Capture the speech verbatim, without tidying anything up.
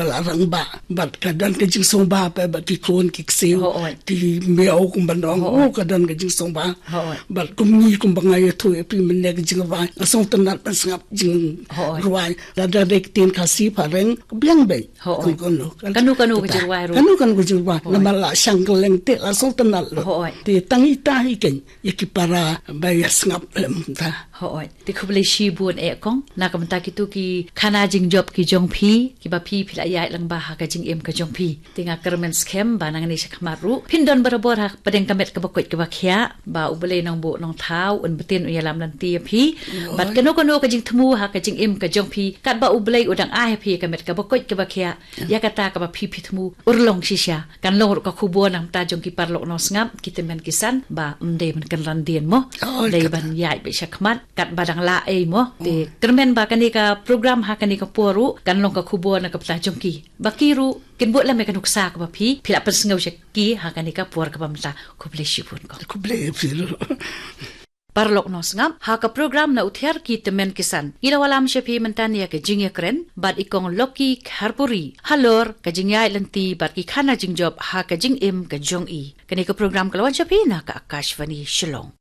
la rangbah, bad ka don ka jingsngewbha pat bad ki khun ki ksiew, Hooid. Ki miaw kumba nong, Hooid. Oh, ka don ka jingsngewbha. Hooid. Bad kum ngi kumba nga ïathuh ïa phi mynne ka jingrwai, nga sngewtynnat ban sngap Hooid. Jingrwai. Lada dei ktien Khasi phareng, ka biang beit. Hooid. Kano kano. Kano kano ka jingrwai ruh. Kano kano ka jingrwai. Hooid. Namar la shang kylleng te la sngewtynnat lut. Hooid. Te tang ita hi keiñ ïa ki para ba ïa sngap lem ta. Hooid. Te khublei shibun eh kong. Na ka bynta kito ki khana jingjop ki jong phi, kiba phi phi la ïaid lang bha ha ka jingim ka jong phi. Te nga kyrmen skhem ba nangne shakhmat ruh phin don barabor ha pdeng ka met kaba koit kaba khiah, ba U Blei Nongbuh Nongthaw un btin un ïalam lynti ïa phi. Bad kano kano ka jingthmu ha ka jingim ka jong phi, katba U Blei u dang ai ha phi ka met kaba koit kaba khiah, ïa kata kaba phi phi thmu, urlong shisha. Kan long ruh ka khubor na ka bynta jong ki paralok nongsngap, ki tymmen ki san, ba ym dei ban kynran dien mo. Oh, dei kata. Ban ïaid beit shakhmat, katba dang lah ei mo. Te kyrmen ba kane ka program ha kane ka por ruh kan long ka khubor na ka bynta jong ki, ba ki ruh kin bud lem ïa ka nuksa kaba phi phi la pynsngew sha ki ha kane ka por kaba mynta. Khublei shibun kong. Khublei phi ruh. Paralok nongsngap, ha ka program Na U Thiar ki Tymmen ki San, ngi la wallam sha phi mynta ïa ka jingïakren bad i kong Lucky Kharpuri halor ka jingïaid lynti bad ki khana jingjop ha ka jingim ka jong i. Kane ka program ka la wan sha phi na ka Akashvani Shillong.